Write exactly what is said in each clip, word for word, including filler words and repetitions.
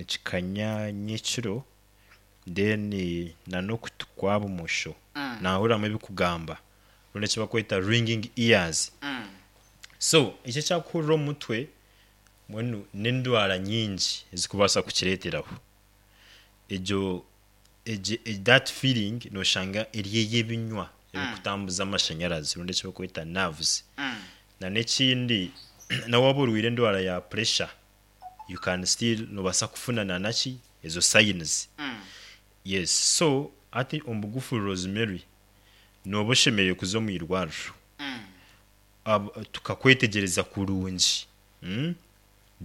Nikikanya nyekiro, then n'okutu kwa bumosho Mm. naahuriramu ebikugamba, rundi eki barikweta ringing ears. Mm. So eki ekyakuhurira omu mutwe, mbwenu n'endwara nyingi ezikubaasa kukireeteraho. Egyo egyo that feeling nooshanga eri ey'ebinywa ebikutambuza amashanyarazi rundi eki barikweta nerves. Mm. Na n'ekindi, na waaba orwaire endwara ya pressure, you can still noobaasa kufuna na naki ezo signs. Mm. Yes, so hati omu bugufu, Rosemary, nooba oshemereire kuza omu irwariro. Mm. Ab- tukakwetegyereza kurungi, mm?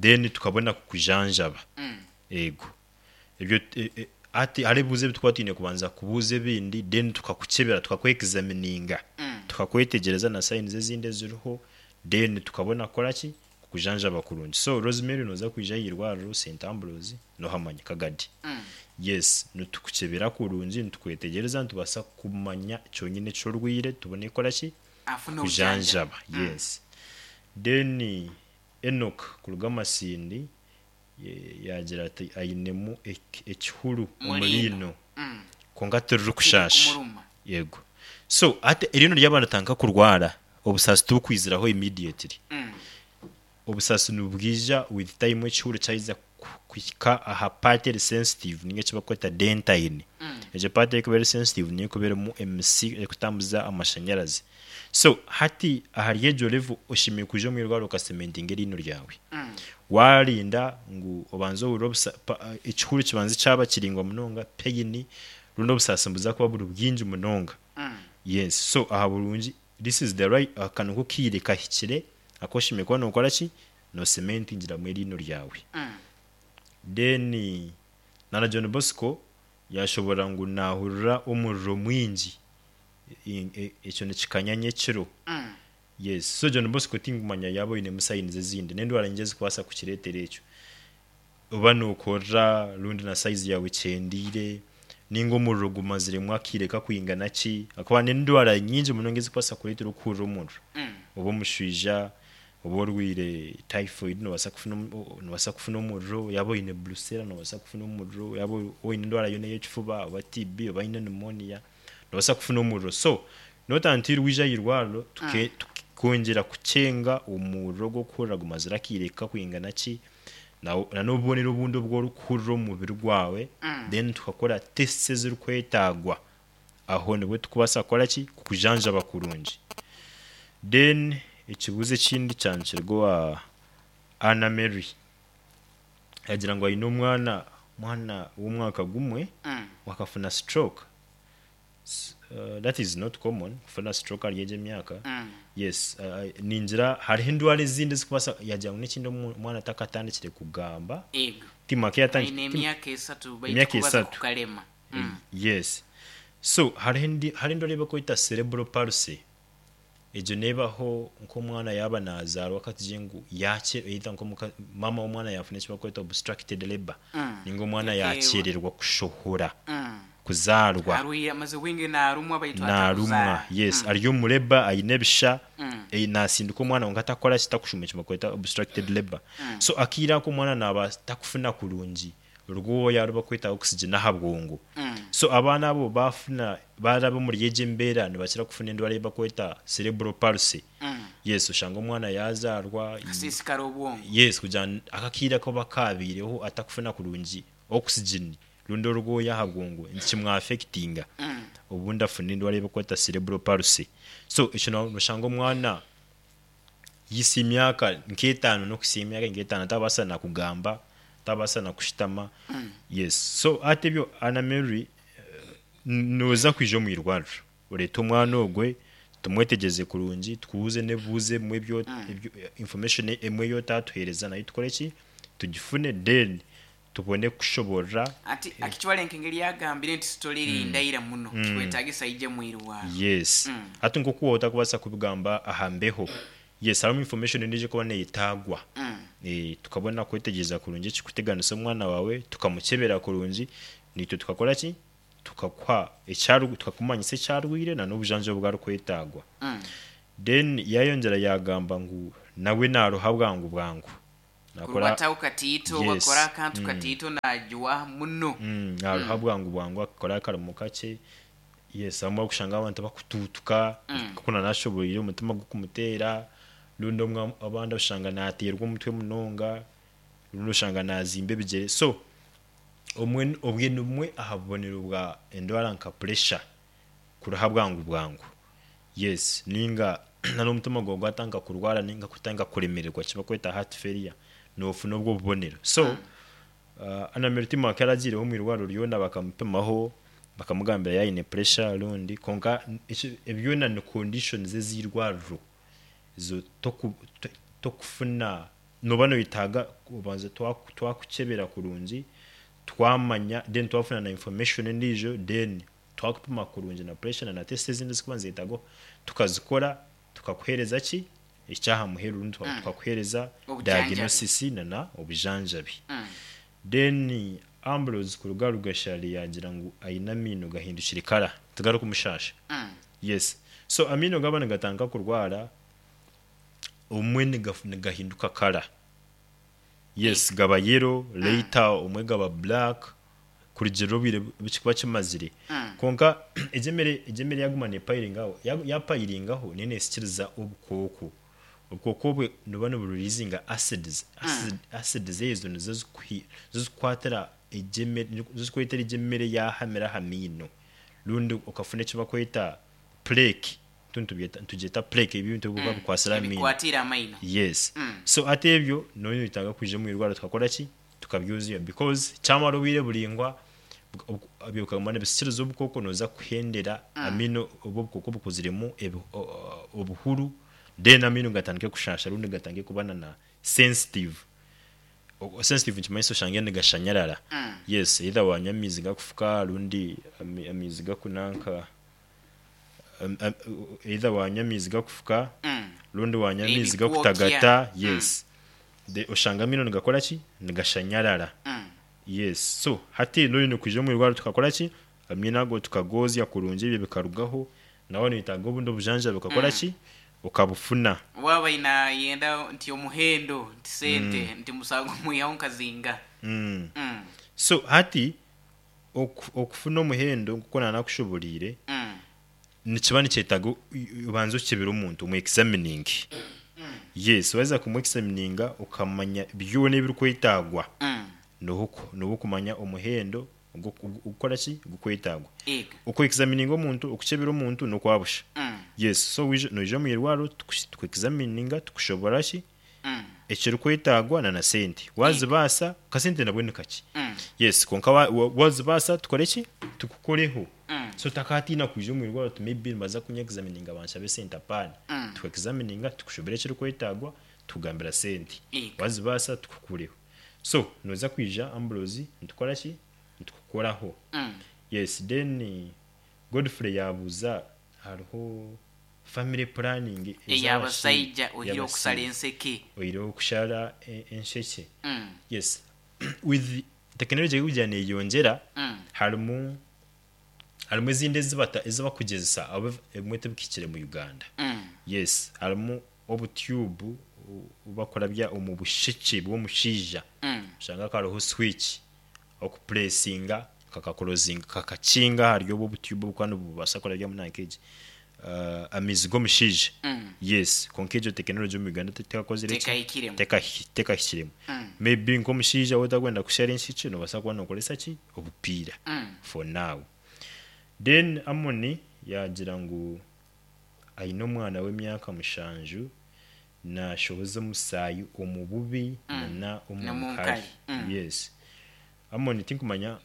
Then tukabona kukujanjaba. Mm. Ego ebyo e- e- hati hariho ebibuuzo ebi tukuba twine kubanza kubuuza ebindi, then tukakukyebera, tukakwexamininga, Mm. tukakwetegyereza na signs ezindi eziriho, then tukabona kukora ki? Kukujanjaba kurungi. So Rosemary, nooza kwija aha irwariro Saint Ambrose, nohamanya Kagadi. Mm. Yes, nitukukyebera kurungi, nitukwetegyereza, nitubaasa kumanya kyonyine ekyorwaire, tubone kukora ki? Afune obujanjabi. Kujanjaba, yes. Then Enoch kuruga Masindi ye- yagira ati ainemu ek- ekihuru omu Mu riino. riino Mm. kwonka tiririkushaasha. Kumuruma. Yego, so ati eriino ryaba ritandika kurwara, obusaasi tibukwiziraho immediately. Mm. Obusaasi nibwija with time, ekihuru kyaheza ku- kuhika aha part eri sensitive, ninga eki bakweta dentine. Mm. Egyo part erikuba eri sensitive niyo ekuba erimu emisi erikutambuza amashanyarazi. So hati ahari egyo level oshemereire kwija omu irwariro okacementinga eriino ryawe. Mm. Warinda ngu obanze ohurire obusa- pa- ekihuru kibanze kyaba kiringwa munonga, pain rundi obusaasi nibuza kuba buri bwingi munonga. Mm. Yes, so aha burungi, this is the right, aka niko kiire kahikire aku oshemereire kuba nokora ki? Nocementingiramu eriino ryawe. Mm. Then nana John Bosco yashobora ngu nahurira omuriro mwingi. I- e- ekyo nikikanya nyekiro. Mm. Yes, so John Bosco, tinkumanya yaaba oinemu signs ezindi, n'endwara nyingi ezikubaasa kukireetera ekyo, oba nokorora rundi na size yawe ekyendiire, ninga omuriro gumaziremu akiire kakwingana ki, akuba n'endwara nyingi munonga ezikubaasa kureetera okuhurira omuriro. Mm. Oba omushwija, oba orwaire typhoid, nobaasa kufuna omu- nobaasa kufuna omuriro. Yaaba oine brucella, nobaasa kufuna omuriro. Yaaba oine endwara yoona ey'ekifuba, oba T B, oba oine pneumonia, nobaasa kufuna omuriro. So not until wija aha irwariro tuke- tukongyera kucenga omuriro gw'okuhurira gumazire akiire kakwingana ki, na na n'obubonero obundi obu orikuhurira omu mubiri gwawe, Mm. then tukakora tests ezirikwetagwa. Aho nibwo tukubaasa kukora ki? Kukujanjaba kurungi. Then ekibuuzo ekindi kyankirwe wa Anna Mary, yagira ngu aine omwana, omwana w'omwaka gumwe Mm. wakafuna stroke. S- uh, that is not common, kufuna stroke ari egyo emyaka. Mm. Yes, uh, ningira hariho endwara ezindi ezikubaasa. Yagira ngu n'ekindi, omu- omwana atakatandikire kugamba. Ego. Timaka Aine emyaka esatu, baitu Emyaka kubaza esatu. kukalema. Mm. Yes, so hariho endi- hariho endwara ei bakweta cerebral palsy. Egyo nebaho nk'omwana yaaba nazaarwa, katugire ngu yake either nk'omuka mama w'omwana yafuna eki bakweta obstructed labor, Mm. ninga omwana Yakeerwa. yakyererwa kushohora, Mm. kuzaarwa. Arwire amaze bwingi narumwa, baitu Narumwa. atakuzaara. Yes. Mm. Ari omu labour, aine ebisha, Mm. eh, nasindika omwana wonka atakora kitakushuma, eki bakweta obstructed labor. Mm. So akiire ako omwana naaba takufuna kurungi orwoya rubakweta oxygen aha bwongo. Mm. So abaana abo bafuna baraba omuri egyo embeera, nibakira kufuna endwara ei bakweta cerebral palsy. Mm. Yes, oshanga omwana yazaarwa, Kasiisikara obwongo. yes, kugira ngu akakiire ako bakabiireho atakufuna kurungi oxygen rundi orwoya aha bwongo, nikimwaffectinga. Mm. Obundi afuna endwara ei bakweta cerebral palsy. So ekyo no- noshanga omwana yisa emyaka nk'etaano, n'okuhisa emyaka nk'etaano atabaasa na kugamba, atabaasa na kushutama. Mm. Yes, so ati ebyo, Anna Mary, eh, nooza kwija omu irwariro, oreete omwana ogwe, tumwetegyeze kurungi, tukubuuze n'ebibuuzo ebimwe ebyo, Mm. ebyo- information emwe eyotatuheereza nayo tukore ki? Tugifune, then tubone kushoborora. Ati akitwale nk'engeri yagambire nti story eri ndaira muno, kikwetagisa ije mwirwaro. Yes. Mm. Hati nk'oku wowe otakubaasa kubigamba aha mbeho, yes, harimu information endiijo ekuba neyetaagwa. Mm. Eh, tukabona kwetegyereza kurungi ekikuteganisa omwana wawe, tukamukyebera kurungi, nitwe tukakora ki? Tukakuha ekyaru, tukakumanyisa ekyarwire na n'obujanjabi obwarikwetagwa. Mm. Then yayongyera yagamba ngu nawe naruha bwangu bwangu. Nakora Kurubataho katiito. Yes. Bakora akantu katiito najwa muno. Mm, naruha bwangu bwangu, akakora akarimo kakye. Yes, abamwe okushanga abantu bakutuutuka kuko nashoboire omutima gukumuteera, rundi omwe abandi oshanga nateerwa omutwe munonga, rundi oshanga nazimba ebigyere. So omwe obwe ni bumwe aha bubonero bwa endwara nka pressure, kuruha bwangu bwangu. Yes, ninga n'omutima gwawe gwatandika kurwara ninga kutandika kuremererwa, ekibakweta heart failure, nofuna obwo bubonero. So uh, Anna Timaka yaragiireho omu irwariro ryona bakamupimaho, bakamugambira yaine pressure rundi, konka eki- ebyona ni conditions ez'irwariro zo toku- to- tokufuna. Noba noyetaaga kubanza twaku- twakukyebera kurungi, twamanya, then twafuna na information endiijo, then twakupima kurungi na pressure na na test ezindi ezikuba nizetaagwa, tukazikora, tukakuheereza ki ekyaha muheru, rundi tuka- tukakuheereza Obujanjabi. Diagnosis na na obujanjabi. Mm. Then Ambrose kuruga Rugashari yagira ngu aine amaino gahindukire kara, tigarikumushasha. Mm. Yes, so amaino gaba nigatandika kurwara, omwe nigaf- nigahinduka kara, yes, gaba yellow later, omwe gaba black kurugirira obwire bukikuba kimazire. Mm. Konka egyemere egyemere yaguma nepayiringaho, yapayiringaho niyo nesikiriza obukooko. Obukooko obwe nibuba nibureleasinga acids. Acid, acids ezo nizo zikuhi- zikukwatira egyemere, nizo zikureetera egyemere yahamira aha maino, rundi okafuna eki bakweta plaque. Nitugyeta plaque, ebintu ebikuba bikwasire aha maino. Ebikwatira amaino. Yes. Mm. So ate ebyo noyetaaga kwija omu irwariro, tukakora ki, tukabyuzuya, because kyamara obwire buringwa bukaguma nibisikiriza obukooko, noza kuhendera amaino obwo obukooko bukuziremu ebi- o- o- obuhuru, then amaino gatandike kushasha rundi gatandike kuba na na sensitive. O- sensitive nikimanyisa oshange nigashanyarara. Mm. Yes, either wanywa amaizi gakufuka rundi ami- amaizi gakunanka, am- am- either wanywa amaizi gakufuka Mm. rundi wanywa amaizi Ebikwokya. gakutagata. Yes, De- oshanga amaino nigakora ki, nigashanyarara. Mm. Yes, so hati noyine kwija omu irwariro, tukakora ki, amaino ago tukagozya kurungi, ebyo bikarugaho, nawe noyetaaga obundi obujanjabi, ukakora ki, ukabufuna. Waba inayenda nti omuhendo nti sente nti musango mwihaho nkazinga. mm. Mm. So hati oku- okufuna omuhendo nkuko nanakushoboriire, Mm. nikiba nikyetaaga u- u- ubanze okebera omuntu omu examining. Yes, waza kumu examininga ukamanya byona ebirikwetaagwa, Mm. niho ku- niho kumanya omuhendo ogukora ki, gukwetaagwa. Ega. Oku examininga omuntu, okukebera omuntu nokwabusha. Mm. Yes, so wija- noija omu irwariro, tuku examininga, tukushobora ki Mm. ekirikwetaagwa na na sente wazibaasa, kasente nabwo ni kaki. Mm. Yes, konka wa- wa- wazibaasa, tukore ki, tukukoreho. Mm. So takatiina kwija omu irwariro ti maybe nibaza kunya examininga banshabe sente. Apaana. Mm. Tuku examininga, tukushobera ekirikwetaagwa, tukugambira sente. Ega. Wazibaasa, tukukureho. So noza kwija, Ambrose, nitukora ki, nitukukoraho. Mm. Yes, then Godfrey yabuuza hariho family planning. Ey'abasaija ohiire okusala enseke. Oyireho okushara e- ensheke. Mm. Yes, with technology ekugira neyongyera, Mm. harimu harimu ezindi ezibata ezibakugyezesa abo ebimwe tibikikire mu Uganda. Mm. Yes, harimu obutube bakurabya omu busheke bw'omushaija. Mm. Oshanga kariho switch okupuresinga, kakakorozinga, kakakinga ahari obwo obutube obukuba nibubaasa kurabyamu nankegi uh, amaizi g'omushaija. Mm. Yes, konka egyo tekinology omu Uganda tekakozire ki? Tekahikiremu. Tekahi- tekahikiremu. Mm. Maybe nk'omushaija wotakwenda kushara enshiki, nobaasa kuba nokoresa ki, obupiira Mm. for now. Then Amoni yagira ngu aine omwana w'emyaka mushanju, nashohoza omusaayi omu bubi nana omu N'omu nkari. nkari. Mm. Yes, Amoni, tinkumanya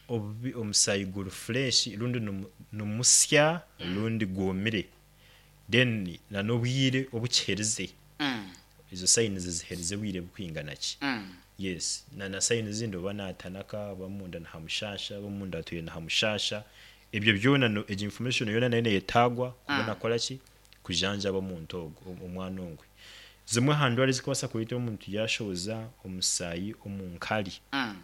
obubi omusaayi guri fresh rundi nimu- nimusya rundi gwomire, then nan'obwire obukiherize, Mm. ezo signs ziherize bwire bukwingana ki. Mm. Yes, na na signs ezindi, oba natanaka, oba munda nihamushasha, oba munda atuye nihamushasha, ebyo byona no- egyo information yona nayo neyetaagwa kubona kora ki, kujanjaba omuntu ogwo, omwana ogwe. Zimwe aha ndwara ezikubaasa kureetera omuntu yashohoza omusaayi omu nkari, Mm.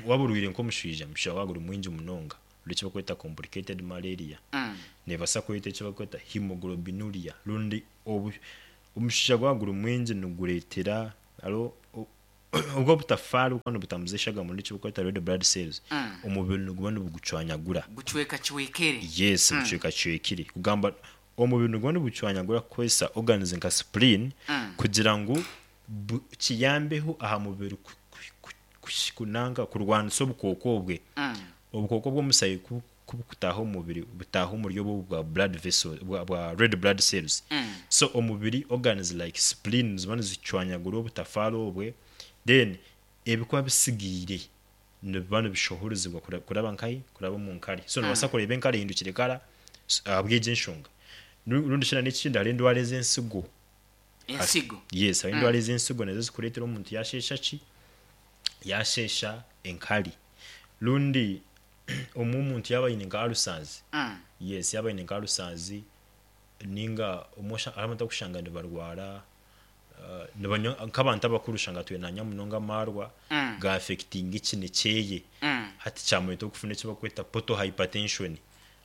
waba orwaire nk'omushaija, omushaija waaba guri mwingi munonga, ori eki bakweta complicated malaria, Mm. nebaasa kureeta eki bakweta hemoglobinuria, rundi obu Omushaija gwaba guri mwingi nigureetera hariho o- obwo obutafaari bukuba nibutambuza eshagama eki barikweta red blood cells, Mm. omubiri niguba nibugucwanyagura. Gucweka cwekere. Yes, Mm. bucwekacwekire. Kugamba omubiri niguba nigucwanyagura kukozesa organs nka spleen Mm. kugira ngu bu- kiyambeho aha mubiri ku- ku- ku- ku- kunanka kurwanisa obukooko obwe. Mm. Obukooko bw'omushaija ku ku bukutaaha omu mubiri butaaha omuri obwo bwa blood vessel bwa, bwa red blood cells. Mm. So omubiri organs like spleen ziba nizicwanyagura obutafaari obwe, then ebikuba bisigaire nibiba nibishohorezibwa kura- kuraba nkahi? Kuraba omu nkari. So nobaasa kureeba enkari ehindukire kara s- ahabw'egyo enshonga. Ru- Rundi shi n'ekindi, hariho endwara ez'ensigo. Ensigo. Yes, hariho endwara ez'ensigo nazo zikureetera omuntu yasheesha ki? Yasheesha enkari. Rundi omwe omuntu yaaba aine nka ulcers, Mm. yes, yaaba aine nka ulcers ninga omwe osha- hariho abantu abakushanga nibarwara uh, nibanywa nk'abantu abakuru, oshanga twine nanywa munonga amaarwa, Mm. gaaffectinga ekine kyeye. Mm. Hati kyamureetera okufuna eki bakweta portal hypertension.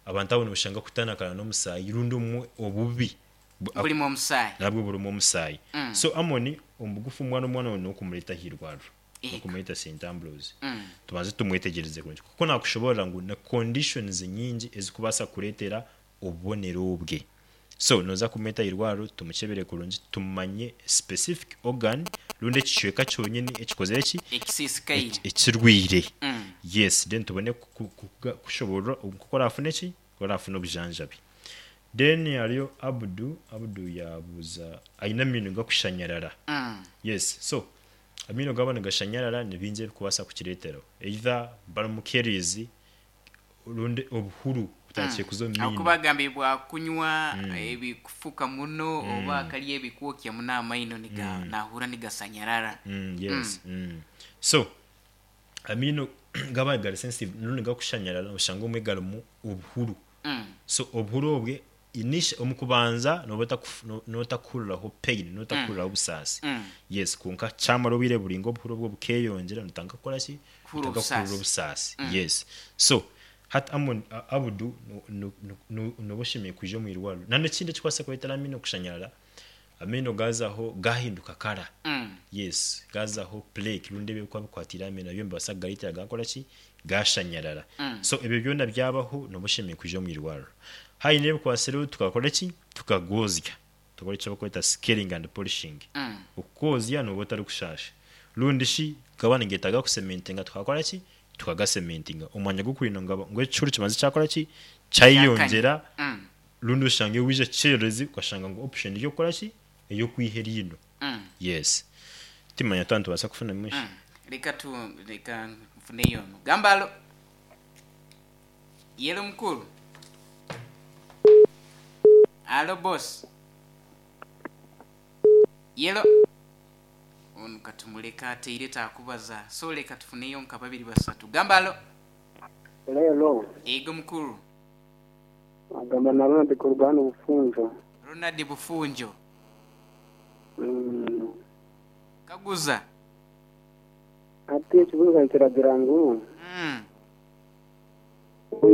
Abantu abo nibashanga kutanakana n'omusaayi rundi omwe obubi bu- Burimu omusaayi. Nabwo burimu omusaayi. Mm. So Amoni, omu bugufu, omwana omwana we n'okumureeta ahairwariro, Ego. n'okumureeta Saint Ambrose, Mm. tubanze tumwetegyereze kurungi, kuko nakushoborera ngu na conditions nyingi ezikubaasa kureetera obubonero obwe. So noza kumweta ahairwariro, tumukyebere kurungi, tumanye specific organ rundi ekicweka kyonyini ekikozire ki, ekisiisikaire, eki- ekirwire. Mm. Yes, then tubone ku- ku- ku- kushoborora nkoku orafuna eki, orafuna obujanjabi. Then hariyo Abudu. Abudu yabuuza aine amaino gakushanyarara. Mm. Yes, so amaino gaba nigashanyarara, ni bingi ebikubaasa kukireeteraho, either barimu caries rundi obuhuru butandikire kuza omu Aho maino. kubagambye bwakunywa ebikufuka muno oba akarya ebikwokya muno, amaino niga nahura nigasanyarara. Mm, yes mm. So amaino gaba gari sensitive rundi gakushanyarara, oshanga omwe garimu obuhuru. Mm. So obuhuru obwe initial omu kubanza noba otakufu- no- notakuhuriraho pain, notakuhuriraho obusaasi. Mm. Yes, konka kyamara obwire buringa, obuhuru obwo bukeyongyera, notandika kukora ki? Kuhurira Notandika kuhurira obusaasi. obusaasi. Yes, so hati Amon, A- abudu no- no- no- noba oshemeriire kwija omu irwariro. Nanekindi ekikubaasa kureetera amaino kushanyarara, amaino gazaho gahinduka kara. Mm. Yes, gazaho plaque rundi ebikuba bikwatire amaino nabyo nibibaasa kugareetera gakora ki? Gashanyarara. Mm. So ebyo byona byabaho, noba oshemeriire kwija omu irwariro. Haine ebikwasireho, tukakora ki? Tukagozya, tukakora eki bakweta scaling and polishing. Mm. Okukozya noba otarikushasha, rundi shi gaba nigetaaga kucementinga, tukakora ki? Tukagacementinga omwanya gw'okurinda ngu aba- ngu ekihuru kimaze kyakora ki? Kyayeyongyera. Mm. Rundi oshange wija kyererezi, ukashanga ngu option ey'okukora ki? Ey'okwiha eriino. Mm. Yes, timanya twaba nitubaasa kufuna mwinshi. Mm. Reka tu reka nfuneyo ono. Gamba alo. Yelo mukuru. Alo boss. Yelo. Ono katumuleka ateire takubaza. So leka tufuneyo nka babiri basatu. Gamba alo. Lelo. Ego mukuru. Agamba na Ronald Kurugano Bufunjo. Ronald Bufunjo. Mm. Kaguza. Ati ekibuga kiragira ngu Mm.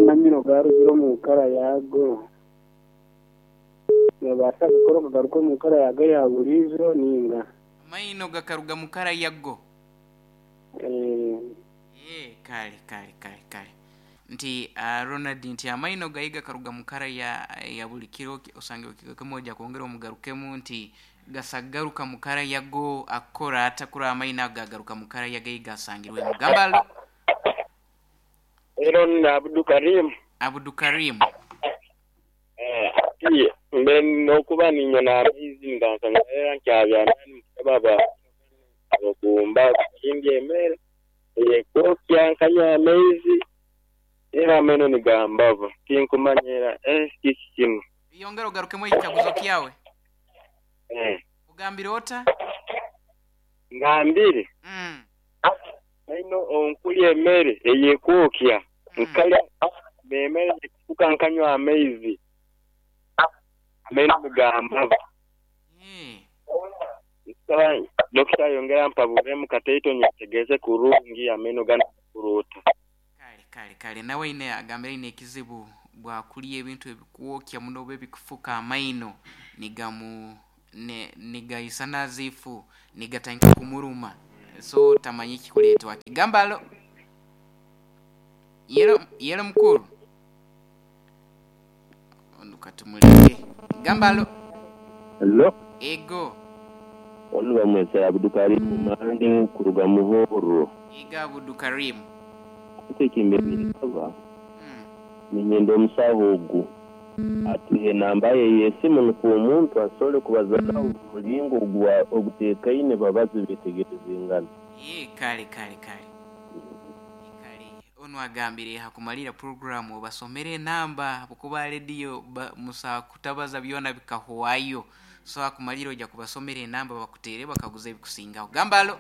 namino garugire omu nkara yago, nobaasa kukora okagaruka omu nkara yago ya buriijo ninga? Amaino gakaruga mukara yago. Eh, Eh, kale kale kale kale nti uh, Ronald nti amaino gayi gakaruga mukara ya, ya buli kiro, osange okikakemoja kwongera omugarukemu nti gasagaruka mukara yago, akora atakura amaino ago gagaruka mukara yagayi gasangirwemu. Gambalo. Ero ni Abdu Karim. Abdu Karim. Eh, ati mbe nokuba ninywa amaizi ngansanyalala nkyabyanani baba abakumba kukimbya emere eyekwokya, nkanywa amaizi era ameno nigambava, tinkumanyira eh kiki kino. Yongera ogarukemu ekikaguzo kyawe. Eh, ugambire ota? Ngambire mm. aino onkulya emere eyekwokya, nkalya emere ekufuka, nkanywa amaizi, ameno nigambava. Eh. Nsaba dokita yongera mpabulemu kateito nyetegeze kurungi ameno gano kuruta. Kale kale kale, nawe ine agambire ine ekizibu bwakulya ebintu ebikwokya muno oba ebikufuka, amaino nigamu ne- nigaisa nazifu nigatandika kumuruma, so tamanyi kikuleetwa kigamba. Alo, yero yero mukuru ono katumuleke. Gamba alo. Hello. Ego. Onu bamwesa Abdukarimu Mande kuruga Muhoro. Ega Abdukarimu. Kutekimbere kaba. Mm. Ninyenda omusaho ogu atuhe enamba ye y'esimu nukwo omuntu asobole kubaza nawe omu muringo ogwa oguteekaine babaze betegereze engano. Ye, kale kale kale kale, ono agambire hakumalira programu basomere enamba bukuba rediyo ba, musa kutabaza byona bikahuwayo, so hakumalira ojja kubasomera enamba bakutere bakaguza ebikusingaho. Gamba alo.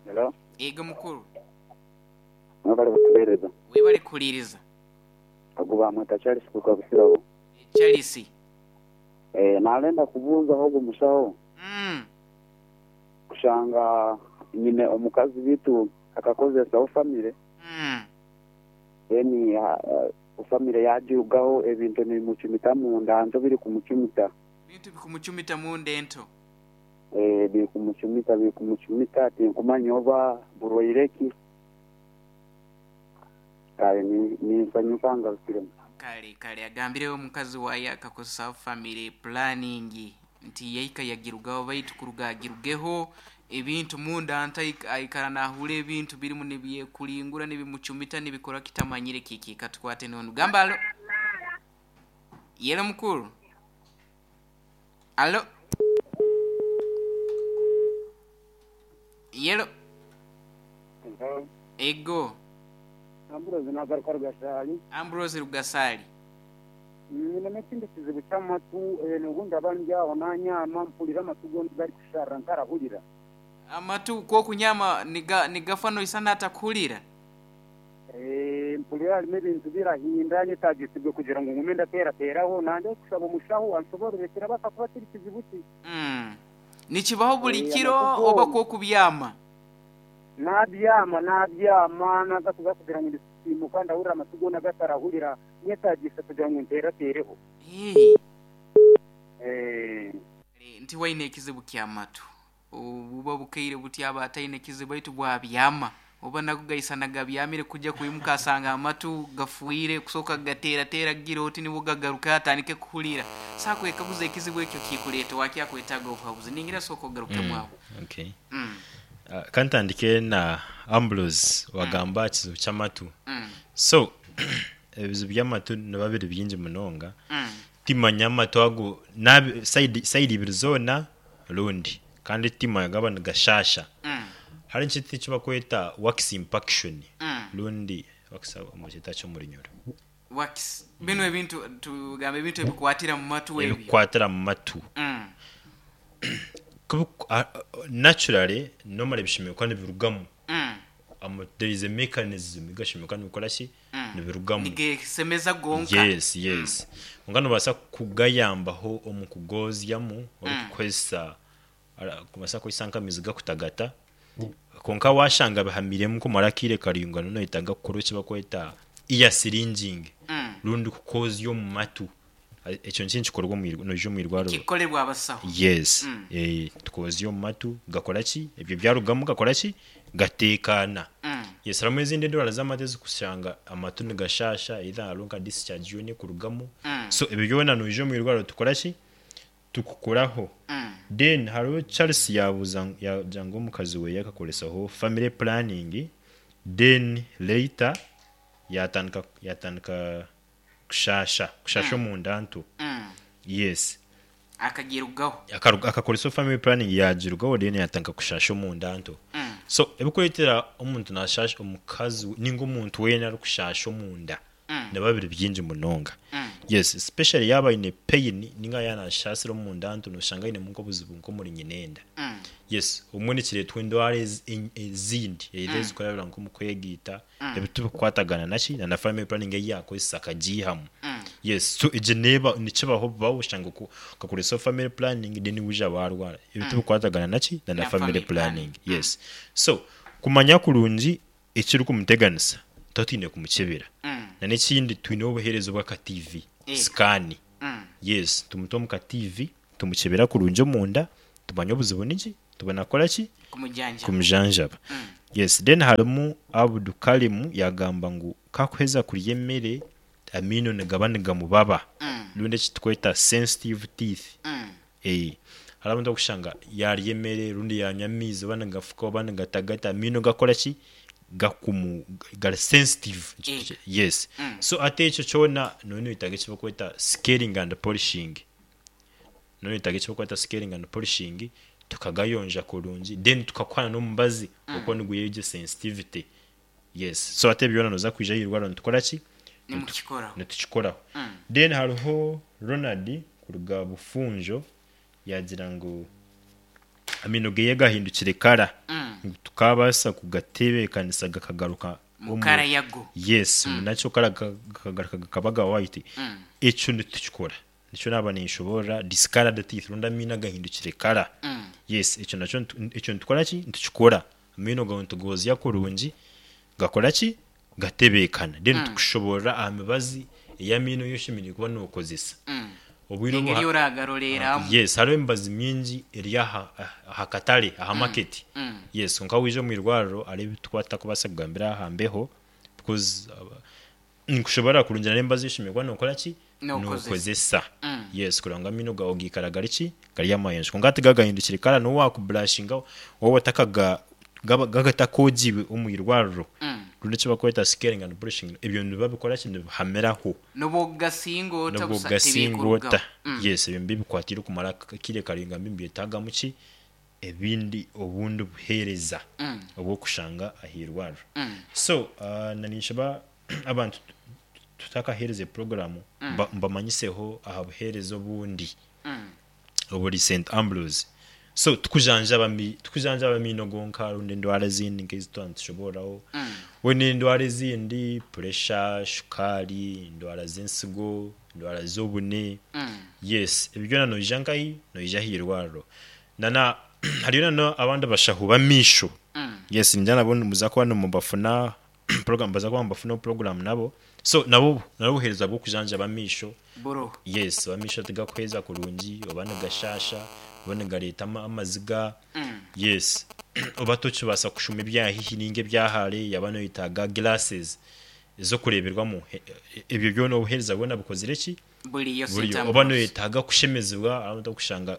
Hello. Ego mukuru. Mwebale kutuheereza. Webale kuhuliriza. Agu bamweta Charles kuruga Busirabo. Charles. Eh, nalenda kubuuzaho ogu mushaho mm. kushanga nyine omukazi bitu akakozesaho famire Mm. then uh, famire yagirugaho ebintu nibimucumita munda nto biri kumucumita. Bintu bikumucumita munda ento. Eh, biri kumucumita biri kumucumita tinkumanya oba burwaire ki. Kale ni- ninsanyuka ngarukiremu. Kale kale, agambireho omukazi waye akakozesa family planning nti yaika yagirugaho, baitu kuruga agirugeho ebintu munda nta aikara nahura ebintu birimu nibyekulingura nibimucumita nibikora kitamanyire kiki. Katukwate nono. Gamba alo. Yelo mukuru. Alo. Yelo. Ego. Amburozi nagaruka Rugasali. Ambrose Rugasali. Nyine ekindi kizibu ky'amatu, eh, n'obundi abandi aho nanyama mpulira amatu gombi gari kusharra ntarahurira. Amatu kokunyama niga nigafano isana atakuhulira. Eh, mpulira harimu ebintu birahinda nyetagisibwe kugira ngu ngume ndaterateraho nande kushaba omushaho ansoborere kirabasa kuba kiri kizibu ki. Mm. Nikibaho buli Eh, kiro amatu oba gombi. kokubyama? Nabyama nabyama naza kuza kugira ngu ndisimuka ndahurira amatu gona gatarahurira nyetagisa kugira ngu nteratereho. Hey. Eh, Nti waine ekizibu ky'amatu obuba bukeire buti aba ataine ekizibu baitu bwabyama oba nago gaisana gabyamire kujja kwimuka asanga amatu gafuire kusooka gateerateera gira oti nibwo gagaruka atandike kuhulira sakwekaguza ekizibu ekyo kikuleeta wakyakwetaaga obuhabuzi ningira sooka ogarukemu aho. Okay. Mm. Uh, kantandike na Ambrose wagamba kizibu ky'amatu. Mm. So ebizibu by'amatu nibiba biri bingi munonga. Mm. Timanya amatu ago nabi side side ibiri zoona rundi kandi timanya gaba nigashasha. Mm. Hari ekintu eki bakweta wax impaction Mm. rundi wax omukyeta ky'omurinyoro. Wax bino ebintu tugambe ebintu ebikwatira mu matu ebyo. Ebikukwatira mu matu. Mm. Kubu- a- a- naturally normally bishimiwe kuba nibirugamu. Mm. Ama- there is a mechanism igashimiwe kuba nibikora ki Mm. nibirugamu. Nigesemeza gonka. Yes yes nga nobaasa kugayambaho omu kugozyamu orikukozesa ara- kubaasa kukozesa nk'amaizi gakutagata, konka washanga bihamiremu kumara akaire karaingwa noyetaaga kukora eki bakweta ear syringing Mm. rundi kukozya omu matu. A- ekyo nikyo nikikorwa omu irwa- noija omu irwariro. Kikolebwa abasaho. Yes. Mm. Eh, tukozya omu matu gakora ki ebyo byarugamu gakora ki gateekaana. Mm. Yes, harimu ezindi endwara z'amatu ezikushanga amatu nigashasha either hariho nka discharge yoona ekurugamu. Mm. So ebyo byona noija omu irwariro tukora ki tukukoraho. Mm. Then hariho Charles yabuuza yagira ngu omukazi we yakakoresaho family planning, then later yatandika yatandika kushasha kushasha omunda nto. Mm. Yes. Akagirugaho. Akaruga- akakoresa family planning yagirugaho, then yatandika kushasha omunda nto. Mm. So ebikureetera omuntu nashasha omukazi ninga omuntu weena arikushasha omunda Mm. nibiba biri bingi munonga. Mm. Yes, especially yaaba aine pain ninga yaanashasira omunda nto noshanga ainemu nk'obuzibu nk'omuri nyinenda. Mm. Yes, obumwe nikireetwa endwara ez- en- ezindi either ezikurabira nk'omu kwegiita ebitubikukwatagana naki na na family planning ei yakozesa akagiihamu. Mm. Yes, so egyo neeba nikibaho bubaho oshanga oku- okakoresa family planning then wija warwara ebitubikukwatagana naki na na Na family family planning. planning. Yes, so kumanya kurungi ekirikumuteganisa tuba twine kumukyebera. Mm. Na n'ekindi twine obuheereza obw'aka T V Eh. scan. Mm. Yes, tumuta omu ka T V Tumukyebera kurungi omunda, tumanya obuzibu niki, tubona kukora ki? Kumujanjaba. Kumujanjaba. Mm. Yes, then harimu Abudu Kalimu yagamba ngu kakuheza kurya emere amaino nigaba nigamubaba Mm. rundi eki tukweta sensitive teeth. Mm. Eh, hariho abantu okushanga yarya emere rundi yanywa amaizi oba nigafuka oba nigatagata, amaino gakora ki? Gakumu gari sensitive. Ego. Yes. Mm. So ate ekyo kyona noba noyetaaga eki barikweta scaling and polishing. Noba noyetaaga eki barikweta scaling and polishing, tukagayonja kurungi, then tukakuha n'omubazi okuba nigwihayo egyo sensitivity. Yes. So ate byona nooza kwija ahairwariro nitukora ki? Nimukikoraho. Nitukikoraho. Mm. Then hariho Ronald kuruga Bufunjo yagira ngu amaino geye gahindukire kara, Mm. ngu tukabaasa kugatebeekanisa gakagaruka Mu omu- kara yago. Yes, nakyo kara gakagaruka gakaba ga white. Mm. Ekyo nitukikora, nikyo naaba ninshoboorora discolored teeth rundi amaino agahindukire kara. Mm. Yes, ekyo nakyo nitu- ekyo nitukora ki? Nitukikora. Amaino gawe nitugozya kurungi, gakora ki? Gatebeekana. Then Mm. tukushoboorora aha mibazi ey'amaino ei oshemereire kuba nookozesa. Mm. Obwire obu Engeri ha- oragaroreramu. Yes, hariho emibazi mingi eri aha aha katare, aha market. Mm. Yes, konka waija omu irwariro hariho ebi tukuba tutakubaasa kugambira aha mbeho because uh, nikushobora kurungira n'emibazi ei oshemereire kuba nookora ki? Nookozesa. Nookozesa. Mm. Yes, kureba ngu amaino gaawe gaikara gari ki? Gari amayonjo. Konka hati gagahindukire kara n'obu waakuburashinga waaba otakaga gaba gatakoogibwe omu irwariro Mm. rundi eki barikweta scaling and polishing, ebyo nibabikora ki? Nibihamiraho. N'obwokugasinga ota Nobwo busa gasinga tibikurugaho. ota. Mm. Yes, ebyo nibikwatire okumara akaire karaingwa nibyetagamu ki? Ebindi obundi buheereza Mm. obw'okushanga ahairwariro. Mm. So uh, na ninshaba abantu tutakaheereza puroguramu mba- mbamanyiseho aha buheereza obundi Mm. oburi Saint Ambrose. So tukujanjaba mi tukujanjaba amaino gonka rundi endwara ezindi nk'ezi twaba nitushoboraho. Mm. We n'endwara ezindi puresha, shukaari, endwara z'ensigo, endwara z'obune. Mm. Yes, ebyo byona noija nkahi? Noija ahairwariro. Nana hariyo nana abandi bashaho b'amaisho. Mm. Yes, ningira nabo nimuza kuba nimubafuna program, baza kuba nibafuna program nabo. So nabo nabo obuheereza bw'okujanjaba amaisho. Buroho. Yes, amaisho tigakuheeza kurungi, oba nigashasha, oba nigareeta ama- amaziga. Mm. Yes. Oba tokibaasa kushoma ebya haihi ninga ebya hare, yaba noyetaaga glasses ez'okureeberwamu. E- e- Ebyo byona obuheereza bwona bukozire ki? Buriyo Saint Buriyo. Oba Ambrose. noyetaaga kushemezibwa, hariho abantu okushanga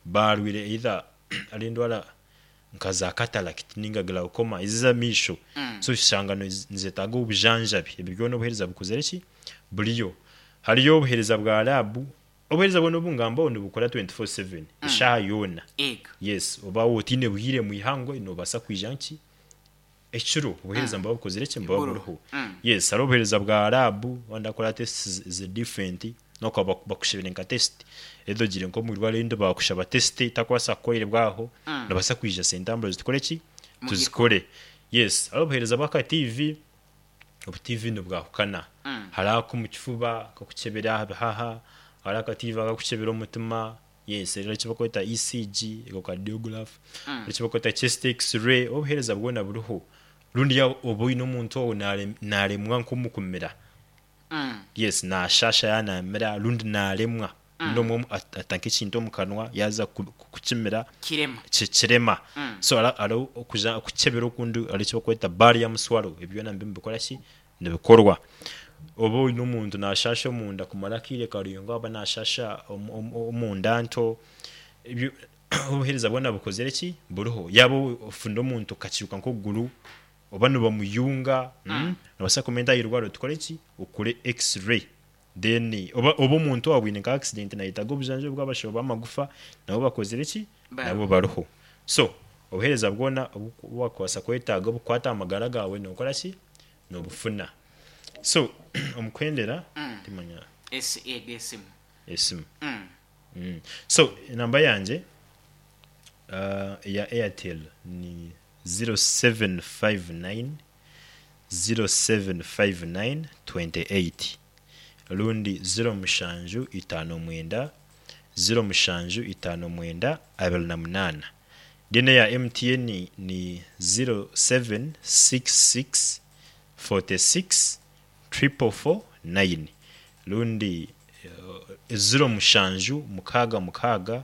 barwire either ari endwara nka za cataract ninga glaucoma ezi ez'amaisho. Mm. So oshanga niz- nizetaaga obujanjabi. Ebyo byona obuheereza bukozire ki? Buriyo. Hariyo obuheereza bwa lab, obuheereza bwona obu ngambaho nibukora twenty-four seven, eshaaha yoona. Ego. Yes, oba otiine bwire mu ihangwe noobaasa kwija nki? Ekiro obuheereza nibuba bukozire ki? Nibuba Buroho. buriho. Mm. Yes, hariho obuheereza bwa lab, abandi bakora tests zi different, n'okuba bakushebere nka test, either ogire nk'omu irwariro erindi baakushaba test etakubaasa kukorebwa aho, Mm. noobaasa kwija Saint Ambrose tukore ki? Mugikore. Tuzikore. Yes, hariho obuheereza bw'aka T V, obu T V nibwahukana. Mm. Hariho ak'omu kifuba kakukyebera aha bihaha, hariho aka T V akakukyebera omutima, yes, hariho eki barikweta E C G, echocardiograph, Mm. hariho eki barikweta chest x-ray, obuheereza bwona buriho. Rundi yaaba oba oine omuntu ou naare- naaremwa nk'omu kumira. Mm. Yes, naashasha yaanamira rundi naaremwa. Rundi omwe at- atanka ekintu omu kanwa yaaza ku- ku- kukimira Kirema. ki- kirema. Mm. So hariho hariho okuja okukyebera okundi hariho eki barikweta barium swallow, ebyo byona nibyo nibikora ki? Nibikorwa. Oba oine omuntu naashasha omunda kumara akaire karaingwa oba naashasha omu- omu- omunda nto, ebyo obuheereza bwona bukozire ki? Buriho. Yaaba ofunda omuntu okakiruka nk'okuguru oba nibamuyunga, mm. noobaasa kumweta ahairwariro tukore ki? Okore x-ray. Then oba oba omuntu owabwine nka accident nayetaaga obujanjabi bw'abashaho b'amagufa nabo bakozire ki? Bariho. Nabo bariho. So obuheereza bwona obu wakubaasa kwetaaga obukukwata aha magara gaawe nookora ki? Noobufuna. So omu kuhendera Mm. timanya Esi ego esimu. esimu. Mm. Mm. So enamba yangye uh, eya Airtel ni zero seven five nine zero seven five nine twenty-eight rundi zero mushanju itaano mwenda zero mushanju itaano mwenda abiri na munaana. Then eya M T N ni zero seven six six forty-six triple four nine rundi eh, ziro mushanju mukaaga mukaaga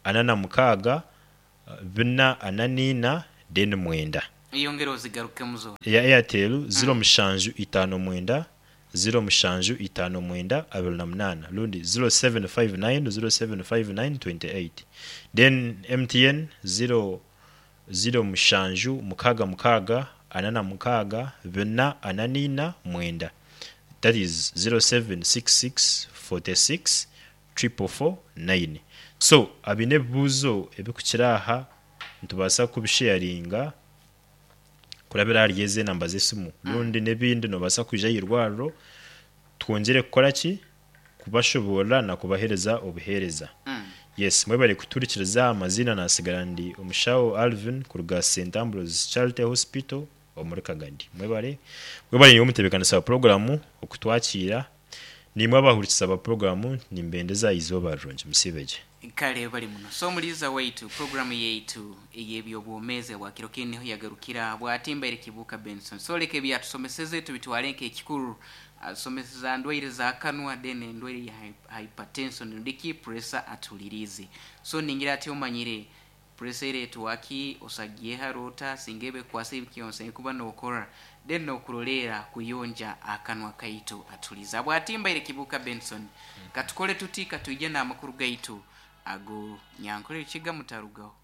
ana na mukaaga eh, bina ana niina then mwenda. Eyongere ozigarukemu zo. Eya Airtel ziro mushanju itaano mwenda ziro mushanju itaano mwenda abiri na munaana rundi ziro seven five nine ziro seven five nine twenty eight. Then M T N ziro ziro mushanju mukaaga mukaaga ana na mukaaga bina ana niina mwenda, that is zero seven six six forty-six four four four nine. So abiine ebibuuzo ebikukira aha nitubaasa kubisharinga kurabira ahari ezi enamba z'esimu rundi n'ebindi. Nobaasa kwija aha irwariro twongere kukora ki, kubashoborora na kubahereza obuheereza. Mm. Yes, mwebale kuturikiriza. Amazina nasigara ndi omushaho Alvin kuruga Saint Ambrose Charity Hospital omuri Kagadi. Mwebale, mwebale niwe omutebeekanisa wa puroguramu okutwakiira, nimwe abahurikiza ba puroguramu, nimbendeza izooba rirungi, musibegye. Kale bali muno. So muliza waitu, programu yaitu ey'ebyobwomeezi bwa kiro kini niho yagarukira. Bwatimbaire Kibuuka Benson. So leka ebyatusomeseze tubitwale nk'ekikuru. Asomeseza ndwaire za kanwa, then endwaire ya hy- hypertension ndiki pressure atulirize. So ningira ati omanyire pressure eretwaki, osagiye harota singebe kwasa ebikyonse kuba nokora, then nokurolera kuyonja akanwa kaitu. Atuliza bwatimbaire Kibuuka Benson. Katukole tuti, katwije n'amakuru gaitu ago nyankole kiga mutarugaho.